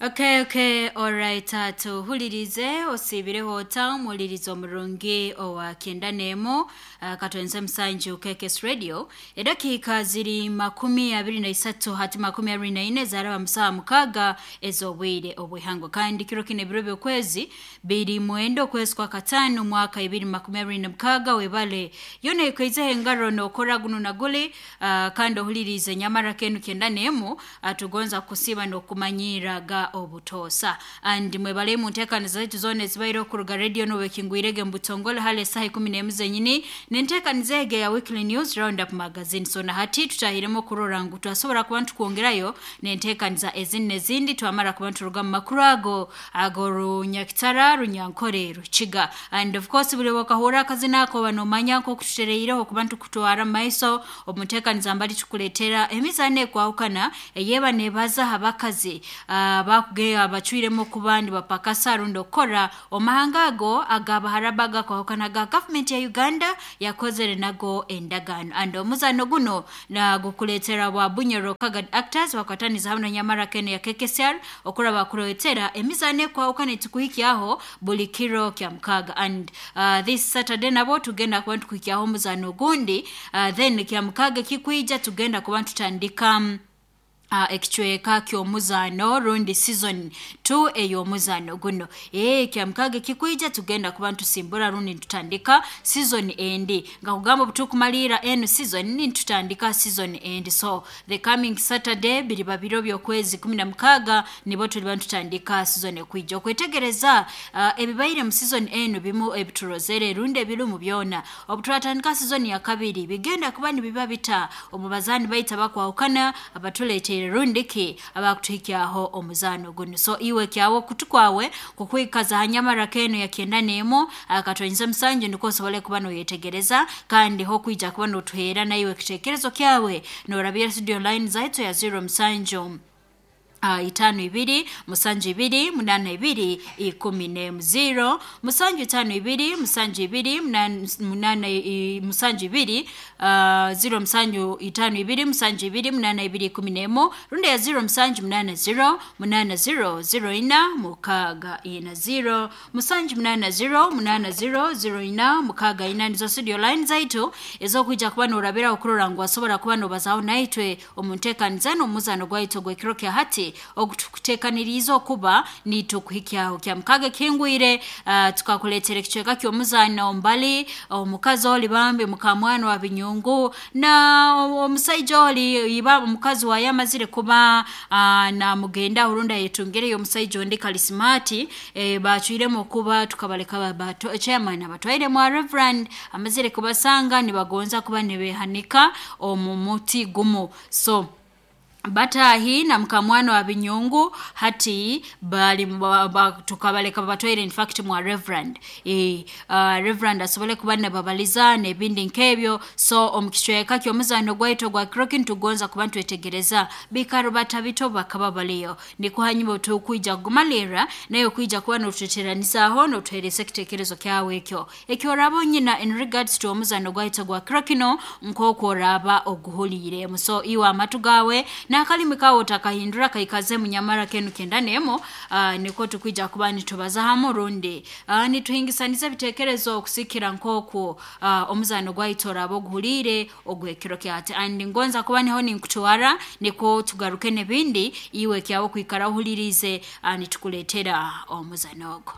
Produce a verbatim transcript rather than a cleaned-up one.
Okay, okay, alright. Uh, tuhulirize osiibireho ota omuwuliriza omurungi owa kyenda n'emu uh, katwenze musanju K K S Radio. Edakiika ziri makumi abiri na isatu hati makumi abiri na ine zaraba musaha mukaaga ez'obwire obw'ihango. Kandi kiro kino ebiro by'okwezi biri mwenda okwezi kwa kataano mwaka ibiri makumi abiri na mukaaga. Webale yona ekaizeho engaro n'okora guno na guli, uh, kandi ohulirize nyamara kenu kyenda n'emu, uh, tugonza kusiba n'okumanyira ga obutoosa. And mwebale mu nteekaniza zaitu zoona ezibaire okuruga radio n'obwekingwirege mu butongole hali esaaha ikumi n'emu zenyini n'enteekaniza ege ya Weekly News Roundup Magazine. So na hati tutahiremu okurora ngu twasobora kuba ntukwongerayo n'enteekaniza ezindi n'ezindi twamara kuba nturuga mu makuru ago ago Runyakitara, Runyankore, Rukiga. And of course buli wakahura akazina ako banomanya nk'okututereireho kuba ntukutwara mu maiso omu nteekaniza mbali tukuleetera emizaano ekwahukana eyeba neebaza abakazi uh, bakuge abacwiremu okuba nibapakasa rundi okukora omahanga ago agabaharaba gakwahukana ga gavumenti ya Uganda yakozere nago endagaano. And omuzaano guno nagukuleetera bwa Bunyoro Kagad Actors bakwataniza hamwe na Nyamara Kene ya K K S R okura bakuleetera emizaano ekwahukana etukuhikyaho buli kiro kya mukaaga. And uh, this Saturday nabo tugenda kuba ntukuhikyaho omuzaano ogundi, uh, then kya mukaaga kikwija tugenda kuba ntutandika Uh, ekicweka ky'omuzaano rundi season two ey'omuzaano guno. Eh, kya kikwija tugenda kuba ntusimbura rundi ntutandika season endi. Nga kugamba obutukumalira eno season ntutandika season endi. So the coming Saturday biri babiro by'okwezi kumi na mukaaga nibo tuliba ntutandika season ekwija. Okwetegereza uh, ebibaire mu season eno bimu ebiturozere rundi ebirumu byona. Obuturatandika season ya kabiri bigenda kuba nibiba bita omubazaani baita bakwahukana abatuleetera rundiki abakutuhikyaho omuzaano guno. So iwe kyawo kutukwawe kukwikaza hanyamara keno ya kyenda n'emu akatwenze musanju niko osobole kuba noyetegereza kandi ho kwija kuba notuheera na iwe kitekerezo kyawe norabira studio line zaitu ya zero musanju Uh, itano ibiri musanju ibiri munana ibiri ikumi n'emu zero musanju itano ibiri musanju ibiri munana musanju ibiri uh, zero musanju itano ibiri musanju ibiri munana ibiri ikumi n'emu rundi ya zero musanju munana zero munana zero zero ina mukaaga ina zero musanju munana zero munana zero zero ina mukaaga ina. Nizo studio line zaitu ez'okwija kuba norabira okurora ngu wasobora kuba nobazaho naitwe omu nteekaniza n'omuzano gwaitu ogw'ekiro kya hati okutukuteekaniriza okuba nitukuhikyaho kya mukaaga kingwire. Uh, tukakuleetera ekicweka ky'omuzaano mbali omukazi oli bambi mukamwana wa binyungu na omusaija oli iba omukazi waye amazire kuba uh, namugenda urunda yetungireyo omusaija ondi kalisimati e, bacwiremu okuba tukabaleka bato chairman abatwaire mu reverend amazire kubasanga nibagonza kuba nibehanika omu muti gumu. So batahi na mkamwana wa binyungu hati bali ba, tukabaleka batwaire in fact mwa reverend e, uh, reverend asobole kuba nababaliza n'ebindi nkebyo. So omukicweka ky'omuzaano gwaitu gwa krokin tugonza kuba ntwetegereza bikaro batabito bakaba baliyo niko hanyuma tukwija kugumalira nayo kwija kuba notuteranizaaho notuhereza ekitekerezo kyawe ekyo ekyo oraba nyina in regards to omuzaano gwaitu gwa krokino nk'oku oraba oguhuliire. So iwe amatu gawe n'akalimi kawo takahindura kaikaze munyamara kenu kyenda n'emu, uh, niko tukwija kuba nitubaza hamu rundi uh, nituhingisaniza ebitekerezo okusikira nk'oku uh, omuzaano gwaitu oraba oguhuliire ogw'ekiro kyate. And ngonza kuba niho ninkutwara niko tugaruke n'ebindi iwe kyawo kwikara ohulirize uh, nitukuleetera omuzaano ogwo.